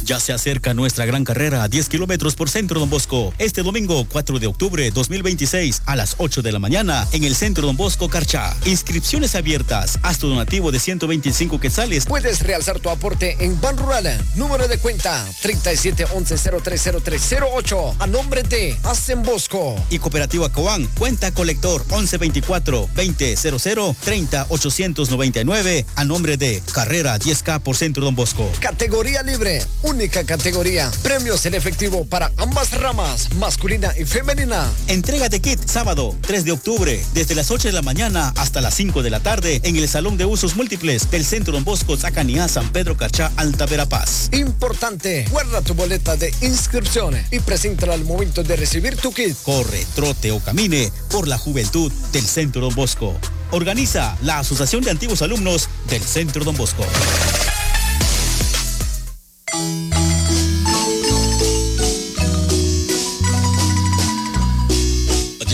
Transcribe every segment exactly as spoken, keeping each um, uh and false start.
Ya se acerca nuestra gran carrera a diez kilómetros por Centro Don Bosco. Este domingo cuatro de octubre dos mil veintiséis a las ocho de la mañana en el Centro Don Bosco Carchá. Inscripciones abiertas. Haz tu donativo de ciento veinticinco quetzales. Puedes realzar tu aporte en Banrural. Número de cuenta treinta y siete once cero tres cero tres cero ocho a nombre de Hacen Bosco. Y Cooperativa Cobán, cuenta colector once veinticuatro veinte cero cero treinta ochocientos noventa y nueve a nombre de Carrera diez K por Centro Don Bosco. Categoría libre, única categoría. Premios en efectivo para ambas ramas, masculina y femenina. Entrega de kit sábado tres de octubre desde las ocho de la mañana hasta las cinco de la tarde en el Salón de Usos Múltiples del Centro Don Bosco, Zacaniá, San Pedro Carchá, Alta Verapaz. Importante, guarda tu boleta de inscripción y preséntala al momento de recibir tu kit. Corre, trote o camine por la juventud del Centro Don Bosco. Organiza la Asociación de Antiguos Alumnos del Centro Don Bosco.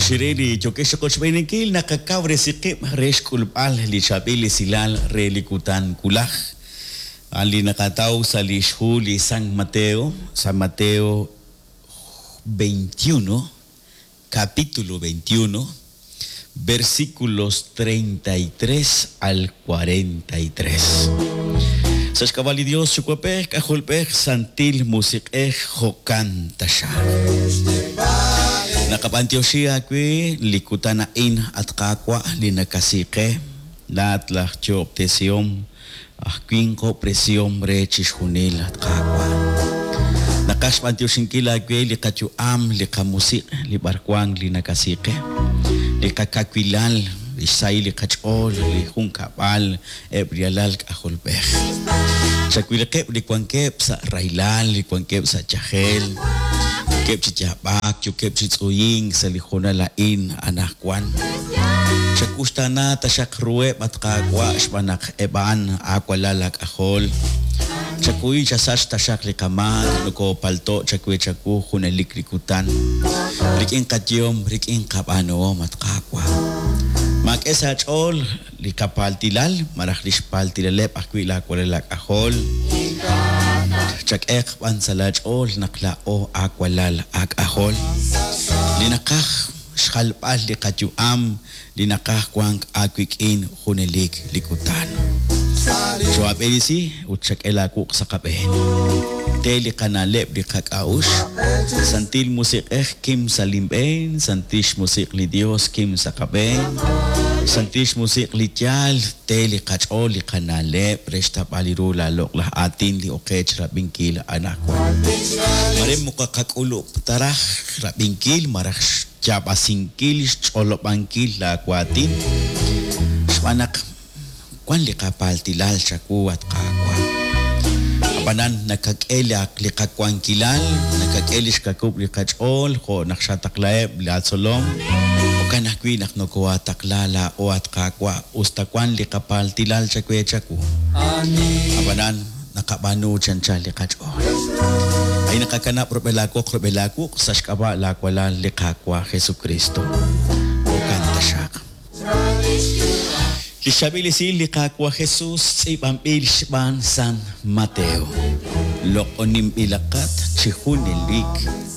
Xireli yokex qochb'enikil naqakawresiqib' re xk'ulb'al li chab'il isilal re li kutan kulaj. Ali naqataw sa li xhu li San Mateo, San Mateo veintiuno, capítulo veintiuno, versículos treinta y tres al cuarenta y tres. Sashkabali Dios, Chukwapej, Kajulpej, Santil, Musikej, Jokan, Tasha. Nakapantioshi akwi, likutana in at kakwa, linakasike, laat lach choptesiom, ahkwinko presiom re chishunil at kakwa. Nakashpantioshingkila akwi, likachuam, likamusik, libarkwang, linakasike, likakakwilal, lisay likachol, lijunkabal, ebrialal kajolpej. Chakwilkep, likwankep sa railal, likwankep sa chajel. Kep chichapak, yukep chitzuying, sa lijona lain, anakwan. Chakustana, tashak rueb, at kakwa, shpanak eban, akwalalak ahol. Chakuy, chasash, tashak likaman, nuko palto, chakwe chaku, junelik likutan. Rikin katyom, rikin kapano, at kakwa. Mak esa chol, likapaltilal, marahlish paltilalep, akwila akwalelak ahol. Chak ek pan salach ol nakla o akwalal ak ahol. Linakaj xalpal likayuam, linakaj kwang akwikin junelik likutan. Joab elisi utchak elakuk sakaben. Teli kanalep likakaush. Santil musik eh kim salimben, santish musik li Dios kim sakaben. Santish musik li tyal, teli kachol li kanalep, restap aliru la lok lah atin li okech rabinkil anakwan. Marem mukakakulup taraj rabinkil, maraj chabasinkil, cholobankil la kwatin. Shwanak, kwan li kapaltilal chaku at kakwa. Apanan nakak-elak li kakwankilal, nakak-elish kakup li kachol, ho naksataklaeb li atsolom. Kanakwi naknokoa taklala o at kakwa ustakwan li kapaltilal chakwe chaku. Abanan nakabanu chancha li kachol. Ay nakakanap rubelakok rubelakok sa shkaba lakwala li kakwa Jesucristo. O kanta siya. Lisabilisil li kakwa Jesus ipampil shban San Mateo. Lokonim ilakat chihunilik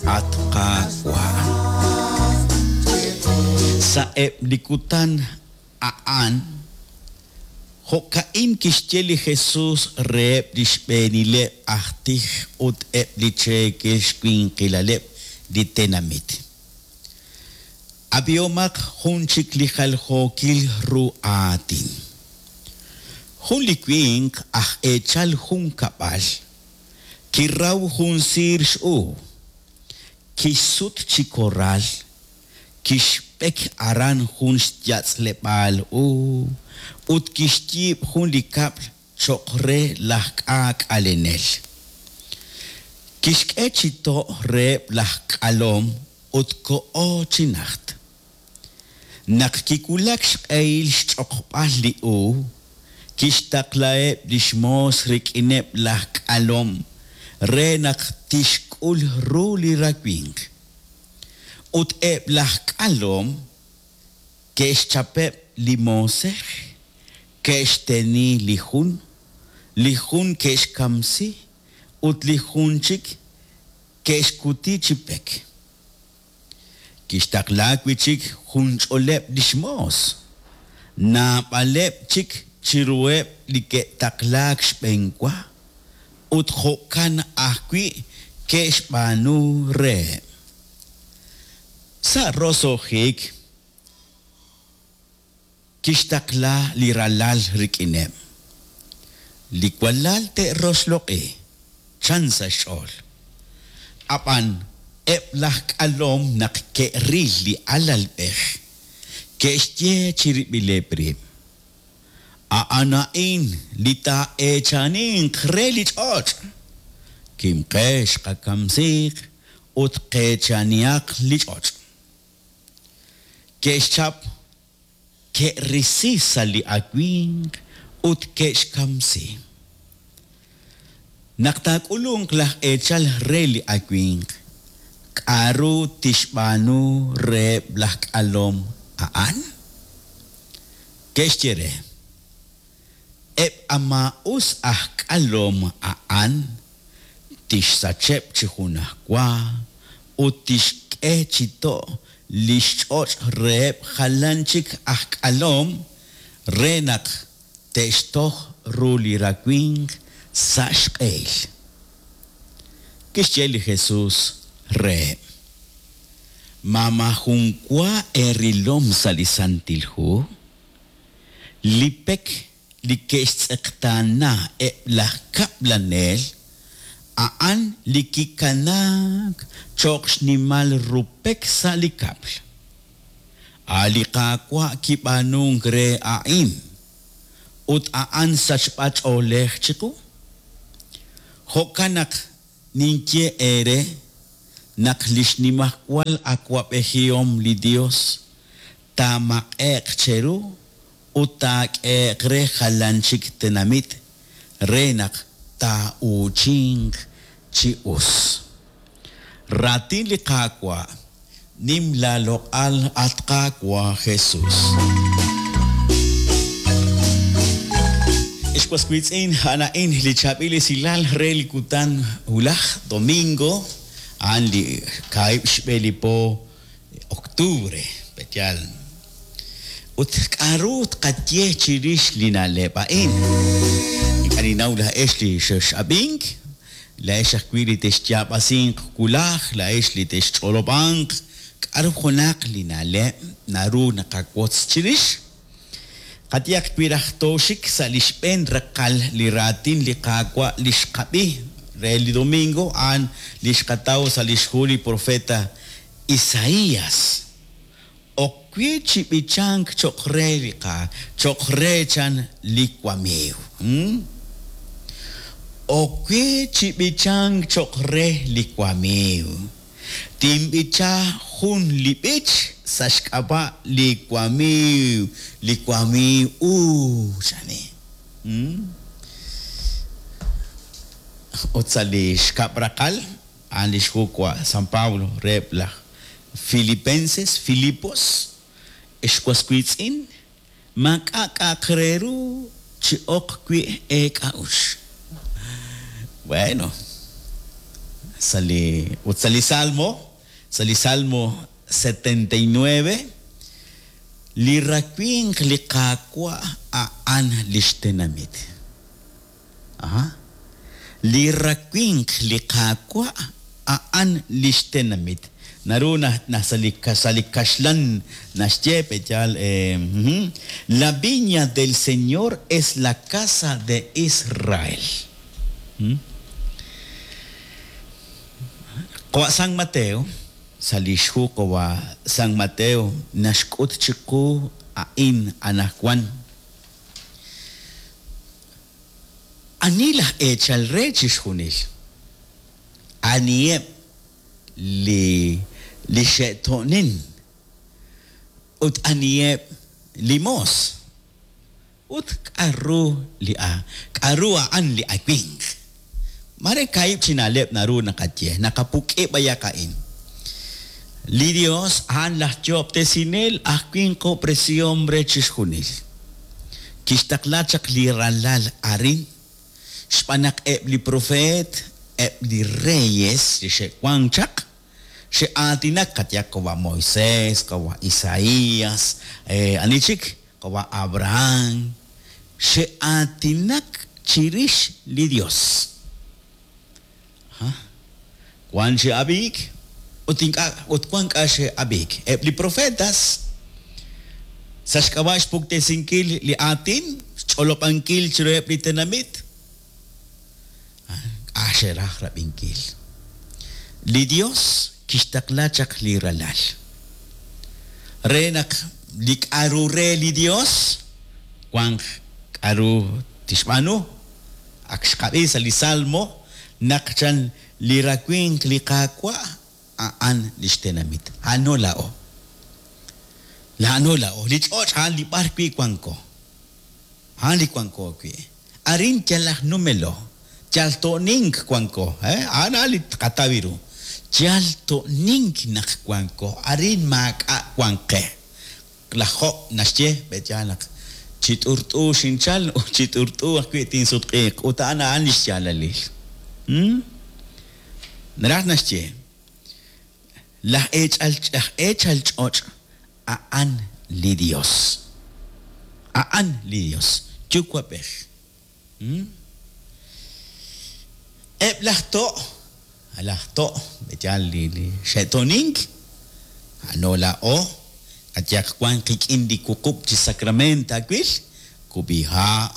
at kakwa. Sa eblikutan aan, hokain kishcheli Jesus reb dishbenile ahtij ut ebliche kishkwinkilaleb ditenamit. Abiomak hunchik lijal hokil ruatin. Hunlikwink ah echal hunkabal, kirraw hunsir shu, kisut chikoral, kishpek aran hun xyatzlepal u, ut kishtib hun likapl chokre lahkak alenel. Kishkechito re lahkalom ut ko chinacht. Nakkikulak xq'eil xch'oqb'al li u, kixtaqlaeb lixmos rikineb lahkalom, re naq tixk'ul ru li rakwink. Ut eb lahkalom, kexchapeb limosej, kexteni lijun, lijun kexkamsi, ut li jun chik ke'xkuti chi pek. Kixtaqla wi' chik junch'oleb' li xmoos, naab'aleb' chik chiruheb' li ke'taqlaak xb'enwa, ut jo'kan ajwi' ke'xb'aanu reheb'. Sa' roso'jik kixtaqla li ralal rik'ineb'. Li walal te'roxloq'i, chan sa' xch'ool. Ab'an eb' laj k'alom naq ke'ril li alalb'ej, ke'xye chirib'ileb' rib': A'an a'in li taa'eechaninq re li ch'och'. Kimqex qakamsiiq ut qeechanihaq li ch'och'. Ke'xchap, ke'risi sa' li awimq ut ke'xkamsi. Naq taak'ulunq laj eechal re li awimq, k'aru tixb'aanu reheb' laj k'alom a'an? Ke'xye re: Eb' a maa'us aj k'alom a'an tixsacheb' chi junajwa ut tixk'e chi to' li xch'och' reheb' jalan chik aj k'alom re naq te'xtoj ru li rawimq sa' xq'ehil. Kixye li Jesús reheb': Ma maajun wa eerilom sa' li Santil Hu? Li pek li ke'xtz'eqtaana eb' laj kab'lanel, a'an li kikanaak cho'q xnimal ru pek sa' li kab'l. A' li Qaawa' kib'aanunk re a'in, ut a'an sachb'ach'oolej chiqu. Jo'kan naq ninye eere naq li xnimajwal awab'ejihom li Yos taamaq'e'q cheru ut taak'ehe'q re jalan chik tenamit re naq taa'uuchinq chi us. Raatin li Qaawa', nim laaloq'al, at Qaawa' Jesús. Ex was wiitz'in, a'an a'in li chaab'il esilal re li kutan wulaj domingo, a'an li kaahib' xb'e li po octubre, pe'yaal. Ut k'aru tqaye chirix li na'leb' a'in? Ink'a' ninnaw laa'ex li xex'ab'ink, laa'ex ajwi' li texyaab'asinq wulaj, laa'ex li texch'olob'anq, k'aru junaq li na'leb' naru naqawotz chirix? Qayehaq wi raj tooxik sa' li xb'een raqal li raatin li Qaawa' li xqab'i re li domingo, a'an li xqataw sa' li xhu li profeta Isaías. Ok we chi b'ichank cho'q re li qa, cho'q re chan li wamiiw. Hmm? Ok we chi b'ichank cho'q re li wamiiw. Tinb'icha jun li b'ich sa' xk'ab'a' li wamiiw, li wamiiw uu, chani. Hmm? Ut sa' li xkab' raqal, a'an li xhu wa San Pablo reheb' laj Filipenses, Filipos, ex was wiitz'in, maak'a' k'a'aq re ru chi ok wi' eek'a'uxl. Bueno, sa' li, ut sa' li Salmo, sa' li Salmo setenta y nueve, li rawimq li Qaawa' a'an li xtenamit. Aha. Li rawimq li Qaawa' a'an li xtenamit. Naru na, na sa' li ka-, sa' li kaxlan naxye, pe'yaal, eh, ujú. La viña del Señor es la casa de Israel. Hmm? Qawa' San Mateo, sa' li xhu qawa' San Mateo naxk'ut chiqu a'in anajwan. Ani laj eechal re chixjunil? Aniheb' li, li xe'to'nin ut aniheb' li moos? Ut k'aru li a, k'aru a'an li awimq? Mare kaahib' chi na'leb' naru naqaye, naqapuk'i b'ayaq a'in. Li Dios a'an laj yo'ob'tesinel aj winqob'resihom re chixjunil. Kixtaqla chaq li ralal arin, xb'aan naq eb' li profeet Eb' li reyes li xe'wank chaq xe'aatinak qatyaq qawa' Moisés, qawa' Isaías, eh, ani chik, qawa' Abraham, xe'aatinak chirix li Dios. Ha? Wan xe'ab'iik ut ink'a' ut wan k'a xe'ab'iik. Eb' li profetas sa' xk'ab'a' xpuktesinkil li aatin, xch'olob'ankil chiruheb' li tenamit, k'a xe'raj rab'inkil. Li Dios kixtaqla chaq li ralal. Re naq li k'aru re li Dios wanq k'aru tixb'aanu. Ak xqab'i sa' li Salmo naq chan li rawinq li Qaawa' a'an lix tenamit. A'ano la'o. La'ano la'o. Li ch'och' a'an li b'ar wi' wanko. A'an li wanko wi'. Arin yal aj numelo. Yal to'nink wanko. Eh? A'an a'an li tqataw ru. Yal to'nink naq wanko. Arin maak'a' wanqe. Laj Job naxye b'etyal naq chi t'urt'u xinchal ut chi t'urt'u ajwi' tinsutq'iiq. Ut a'an a'an li xyaalalil. Hmm? Naraj naxye laj eechal laj eechal ch'och' a'an li Dios. A'an li Dios. Yuwa'b'ej. Hmm? Eb' laj to', laj to', b'etyal li li xe'to'nink, a'ano la'o, atyaq wan qik'in li wuqub' chi sacramento awil, kub'iha',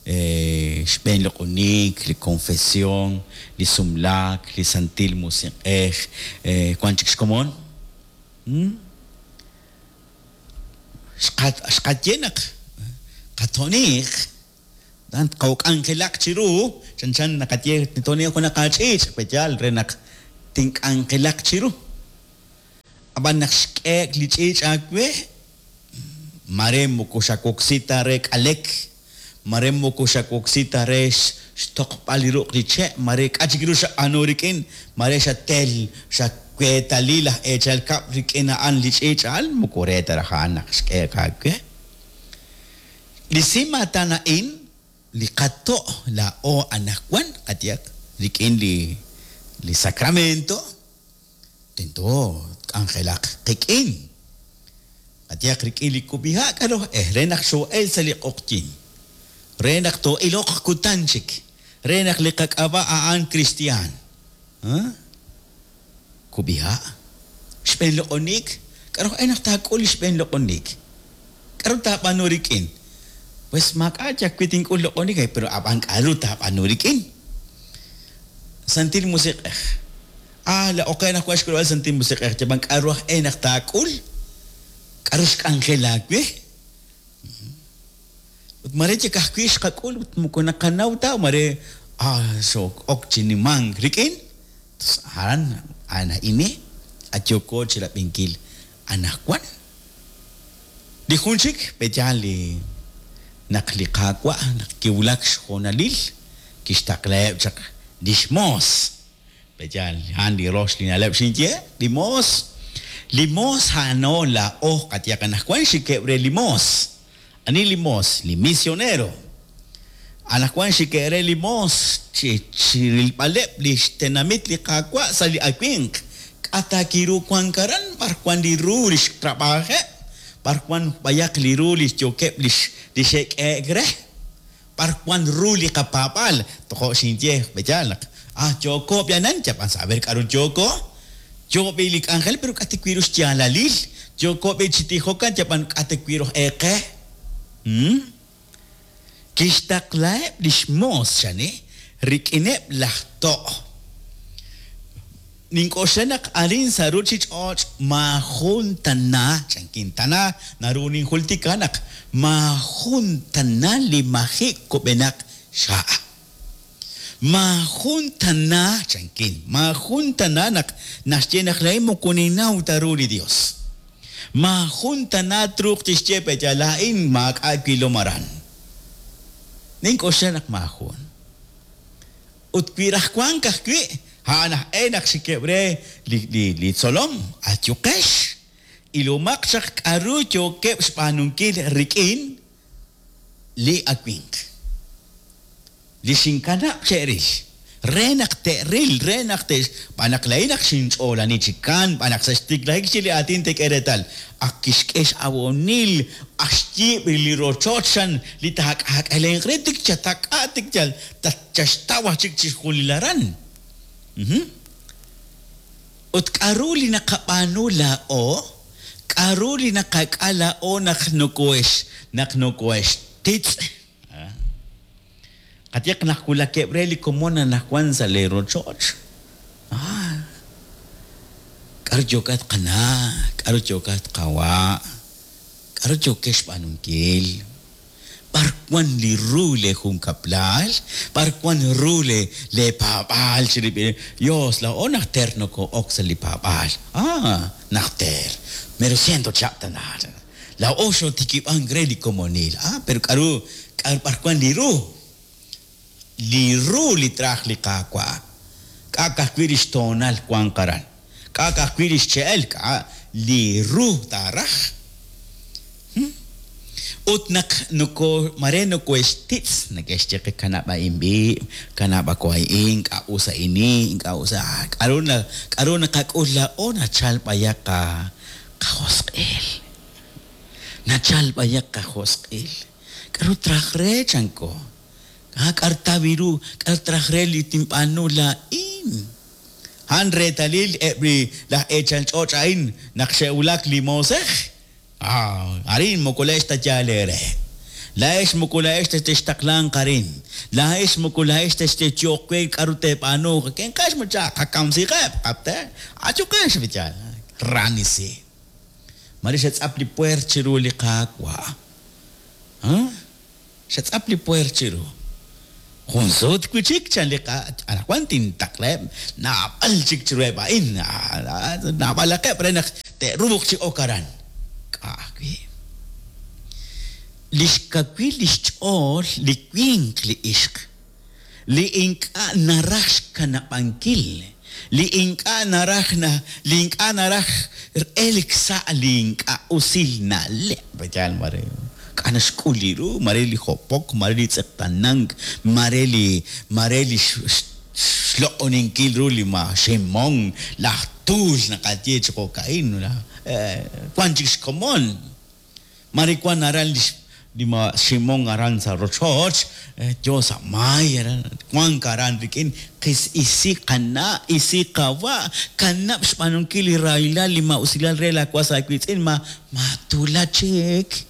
eh, xb'een loq'onik, li confesión, li sumlaak, li santil musiq'ej, eh, wan chik xkomon. Hmm? Xqa- xqaye naq qato'niq, dan qawk'anjelaq chiru, chanchan naqaye to'niq junaq ach'iich', b'etyal re naq tink'anjelaq chiru. Ab'an naq xk'eek li ch'iich' aawe, mare moko xawoksi ta re k'alek, mare moko xawoksi ta re xtoqb'al li ruq' li che', mare k'a chik ru xab'aanu rik'in, mare xatel, xaweetali laj eechal kab' rik'in a'an li ch'iich' a'an, moko re ta raj a'an naq xk'eek aawe. Li simatan a'in, li qato' la'o anaqwan, qatyaq, rik'in li, li sacramento, tento k'anjelaq qik'in. Qatyaq rik'in li kub'iha' k'aru eh, re naq xo'el sa' li q'oqyin. Re naq to'iloq kutan chik. Re naq li qak'ab'a' a'an cristian. Ha? Kub'iha'. Xb'een loq'onik. K'aru eh naq taak'ul li xb'een loq'onik? K'aru taab'aanu rik'in? Pues maak'a' yak wi tink'ul loq'onik, eh, pero ab'an k'aru taab'aanu rik'in? Santil musiq'ej. Ah, la oqe naq wan xk'ulb'al santil musiq'ej, yab'an k'aru aj eh naq taak'ul? K'aru xk'anjel aawe? Ut mare chik ajwi' xqak'ul ut moko naqanaw ta, mare ah, xo'ok chi nimank rik'in. Tos aran a'an a'ini ayoko chi rab'inkil anaqwan. Li jun chik b'etyal li naq li Qaawa' naq kiwulak xjoonalil kixtaqlaheb' chaq lix moos. B'etyal a'an li rox li na'leb' xinye, li moos. Li moos a'ano la'o qatyaq anaqwan xikeb' re li moos. Ani li moos, li misionero. Anaqwan xikeb' re li moos chi chirilb'aleb' li xtenamit li Qaawa' sa' li awinq. K'a kiru wan karan b'ar wan li ru li xtrab'ajeb', b'ar wan b'ayaq li ru li xyokeb' li li xe'k'eek re, b'ar wan ru li qapaab'al. Tojo' xinye b'etyal naq ah yoko b'yanan yab'an saber k'aru yoko. Yo b'i li k'anjel pero k'a tikwiru xyaalalil. Yoko b'i chi tijokan yab'an k'a tikwiru eqe. Hmm? Kixtaqlaheb' lix moos xani rik'ineb' laj to'. Nink'oxla naq arin sa' ruchich'och' maajun tana, chankin tana, naru ninjultika naq maajun tana li maji' kub'enaq xa'. Maajun tana, chankin, maajun tana naq naxye naq la'in moko ninnaw ta ru li Dios. Maajun tana truuq tixye pe'ya la'in maak'a' wilom aran. Nink'oxla naq maajun. Ut wi raj wank ajwi', a'an aj e naq xikeb' re li, li, li tzolom, ayuqex, ilomaq chaq k'aru yookeb' xb'aanunkil rik'in li awinq. Li xinkanab' che'ril, Re naq te'ril, re naq te'xb'aan naq laa'in naq xinch'oolani chi kan, b'aan naq sa' xtiklajik chi li aatin te'k'e reetal. Ak kixk'e x'awonil, ak xyiib' li rochoch xan li taak'aak'alenq re tik chatak'a tik yal tatchaxtaw aj chik chixjunil aran. Ut k'a'ru li naqab'aanu laa'o, k'a'ru li naqak'a laa'o naq nokohex naq nokohextitz'. Qayehaq naq wulakeb' re li komon anaqwan sa' le rochoch. Ah, k'aru yookat qana', k'aru yookat qawa', k'aru yookex xb'aanunkil, b'ar wan li ru le junkab'lal, b'ar wan ru le le paab'aal chirib'il Dios laa'o najter noko'ok sa' li paab'aal. Ah, najter, mero ciento chihab' tana. Laa'o xotikib'ank re li komonil. Ah, pero k'aru k'aru b'ar wan li ru? Li ru li traj li qaawa'. K'a' ka'ajwi' lix toonal wanq aran. K'a' ka'ajwi' lix che'el, k'a' li ru taaraj. Ut naq noko mare nokohextitz, neke'xye qe kanab' a'in b'i', kanab' ako a'in, k'a' us a'ini, k'a' us a' k'aru na k'aru naqak'ul laa'o nachal b'ayaq qa qajosq'il. Nachal b'ayaq qajosq'il. K'aru traj re chanko? Ah, k'aru tawi ru, k'aru traj re li tinb'aanu laa'in. Han reetalil eb' li laj eechal ch'och' a'in naq xe'wulak li moosej. Ah, arin moko laa'ex ta yaal eere. Laa'ex moko laa'ex ta textaqlanq arin. Laa'ex moko laa'ex ta xteyoq we k'aru teeb'aanu. Kenqex macha qakamsiqeb' qab'te. Achuqex bichal. Ranisi. Mare xetz'ap li puer chiru li qaawa'. Ah? Xetz'ap li puer chiru. Jun sut wi' chik chan li qa anaqwan tintaqleb' naab'al chik chiruheb' a'in naab'alaqeb' re naq te'ruuq chi ok aran. K'a' ajwi'. Li xkawil li xch'ool li winq li ixq, li ink'a' naraj xkanab'ankil, li ink'a' naraj na li ink'a' naraj elk sa' li ink'a' usil na'leb'. Yal mare k'a' naxk'ul li ru, mare li jopok, mare li tz'eqtanank, mare li mare li xloq'oninkil ru li ma ximon, laj tuul naqaye chi jo'ka'in, wan chik xkomon. Mare wan aran li li ma ximon aran sa' rochoch, yo sa' maay aran, wank aran rik'in qis isi qana', isi qawa', kanab' xb'aanunkil li rahilal li ma'usilal re laawas aawiitz'in ma matula chik.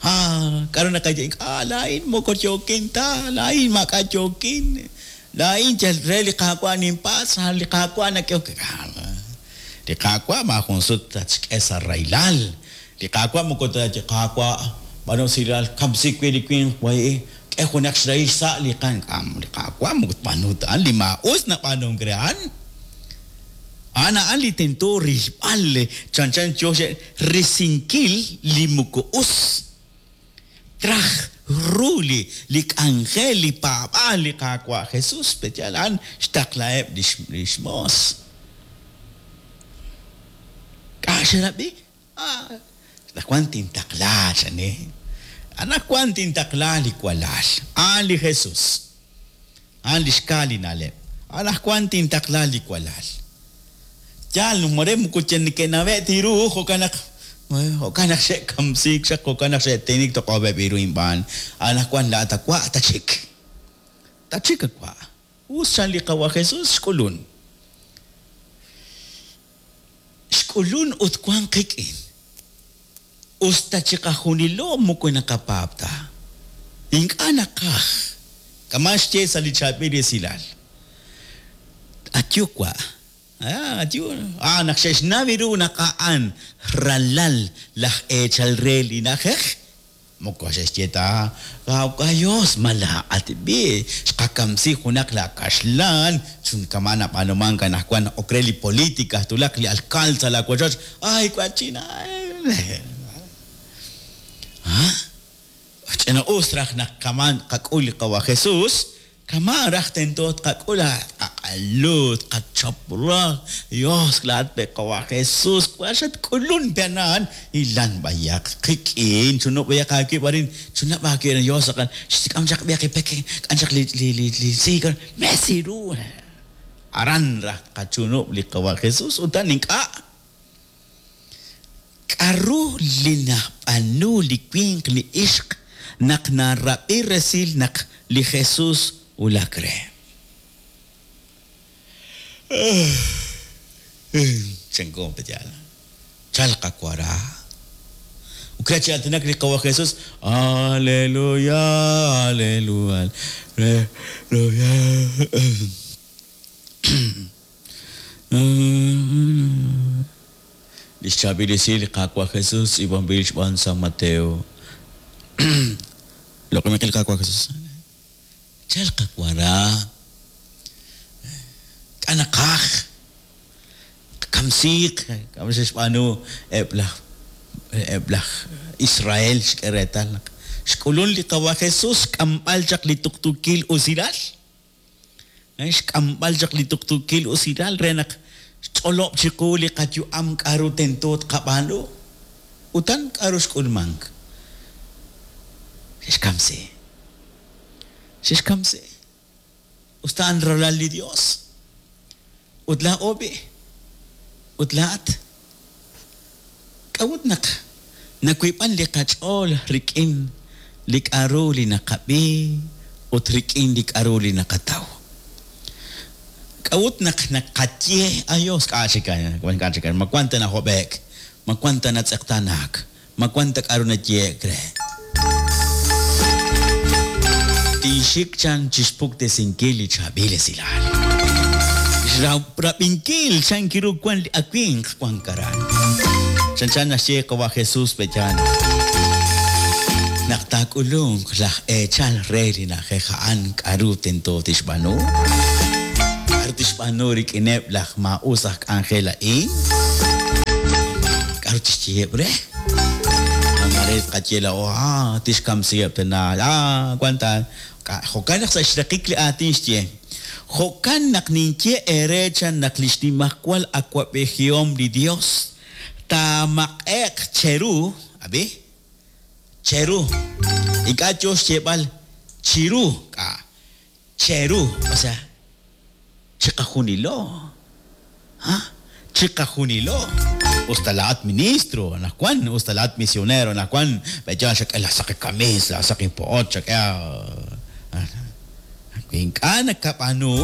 Ah, k'aru naqaye, ah, laa'in moko yookin ta, laa'in maak'a' yookin. Laa'in yal re li qaawa' ninpatz', li qaawa' nak'ehok. Li qaawa' maajun sut tatxk'e sa' rahilal. Li qaawa' moko taye qaawa' b'aanu usilal kamsi wi' li winq way k'e junaq xrahil sa' li qan. Li qaawa' moko tb'aanu ta a'an, li maa'us nab'aanunk re a'an. A'an a'an li tento rilb'al chanchan yo risinkil li moko us. Traj ru li li k'anjel li paab'aal li qaawa' Jesus peyal a'an xtaqlaheb' lix lix moos. K'a' xerab'i? Ah, anaqwan tintaqla chani. Anaqwan tintaqla li walal. A'an li Jesus. A'an li xka li na'leb'. Anaqwan tintaqla li walal. Yaal mare moko neke'nawe' tiru jo'kan naq jo'kan naq xe'kamsiik xaq, jo'kan naq xe'tinik toq'ob'eb' iru inb'aan. Anaqwan laa'at awa' tachik. Tachik awa'. Us chan li qawa Jesus xk'ulun. Xk'ulun ut wan qik'in. Us ta chiqajunilo moko naqapaab' ta. Ink'a' naqaj. Kama' xye sa' li chaab'il esilal. Atyuwa'. Ah, atyu. Ah, naq xe'xnaw ru naq a'an ralal laj eechal re li na'ajej. Moko xe'xye ta, Dios malaa'at b'i, xqakamsi junaq la kaxlan, chun kama' nab'aanumank anaqwan ok re li política, tulaq li alcalde sa' la wochoch, ay wachina. Ah, ch'ina us raj naq kama' qak'ul li qawa Jesus, kama' raj tento tqak'ul Tqaq'alu, tqachap raj, Dios laat pe qawa' Jesús, wa xatk'ulun pe ana'an, ilan b'ayaq qik'in, chunub' b'ayaq aawib' arin, chunab' aawib' Dios aqan, xtik'am chaq b'ayaq ipek, k'an chaq li li li li siik, mesi ru. Aran raj tqachunub' li qawa' Jesús, utan ink'a'. K'aru li nab'anu li winq li ixq naq narab'i resil naq li Jesús wulak re. Chanko peyal. Chalqa wara. Ukrechi aatinak li qawa' Jesús. Aleluya, aleluya, aleluya. Li xchaab'il esil li Qaawa' Jesús tz'iib'anb'il xb'aan San Mateo. Loq'ominqil Qaawa' Jesús. Chalqa wara. K'anaqaj. Kamsiiq, kamsi xb'aanu eb' laj eb' laj Israel xk'e reetal naq xk'ulun li qawa' Jesús xk'amb'al chaq li tuqtuukil usilal. Xk'amb'al chaq li tuqtuukil usilal re naq xch'olob' chiqu li qayu'am k'aru tento tqab'aanu. Utan k'aru xk'ulmank. Xkamsi. Xkamsi. Usta an ralal li Dios. Ut laa'o b'i. Ut laa'at. K'a'ut naq nakuib'an li qach'ool rik'in li k'aru li naqab'i ut rik'in li k'aru li naqataw. K'a'ut naq naqaye ayos k'a chik wan k'a chik ma wan ta najob'ek, ma wan ta natz'eqtanak, ma wan ta k'aru nayeek re. Tinxik chan chixpuktesinkil li chaab'il esilal. Xrab'inkil chan kiru wan li awinq wan karan. Chan chan naxye qawa' Jesús peyan. Naq taak'ulunk laj eechal re li na'ajej a'an k'aru tento tixb'aanu. K'aru tixb'aanu rik'ineb' laj maa'us aj k'anjel a'in. K'aru tixyeheb' re. Mare tqaye la'o, ah, tixkamsiheb' tana, ah, wan ta. Jo'kan naq sa' xraqik li aatin xye. Jo'kan naq ninye eere chan naq li xnimajwal awa'b'ejihom li Dios taamaq'e'q cheru, ab'i, cheru. Ink'a' yo xyeeb'al chiru, k'a, cheru, o sea, chiqajunilo. ¿Ah? Chiqajunilo. Usta laat ministro, anajwan, usta laat misionero, anajwan, beyan xak'e la saqi kamis, la saqi po'ot, xak'e ink'a' nakab'aanu,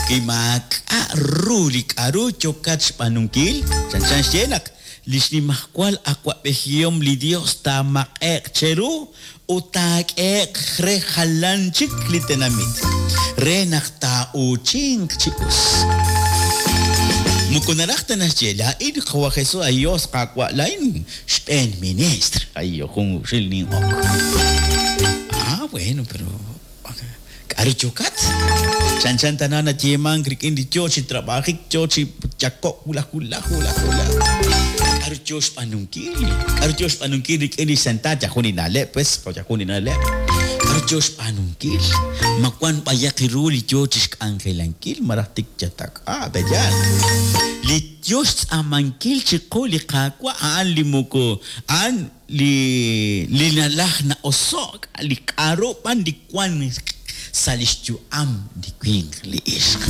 kimaak'a' ru li k'aru yokat xb'aanunkil, chan chan xye naq li xnimajwal awa'b'ejihom li Dios taamaq'e'q cheru ut taak'e'q re jalan chik li tenamit, re naq taa'uuchinq chi us. Moko naraj ta naxye, laa'in qawa' Jesús, ayos Qaawa' laa'in xb'een ministr, ay jun xil nin'ok. Ah, bueno, pero k'aru yokat? Chan chan tana nayeemank rik'in li yo chi trabajik, yo chi yakok, wulaj, wulaj, wulaj, wulaj. K'aru yo xb'aanunkil? K'aru yo xb'aanunkil rik'in li sentat, yajun ina'leb', pues, yajun ina'leb'. K'aru yo xb'aanunkil? Ma wan b'ayaq ru li yo chi xk'anjelankil, maraj tik yatak, ah, beyan. Li yo xtz'amankil chiqu li Qaawa' a'an li moko, a'an li li nalaj na'oso'k, li k'aru b'an li wan sa' li xyu'am li winq li ixq.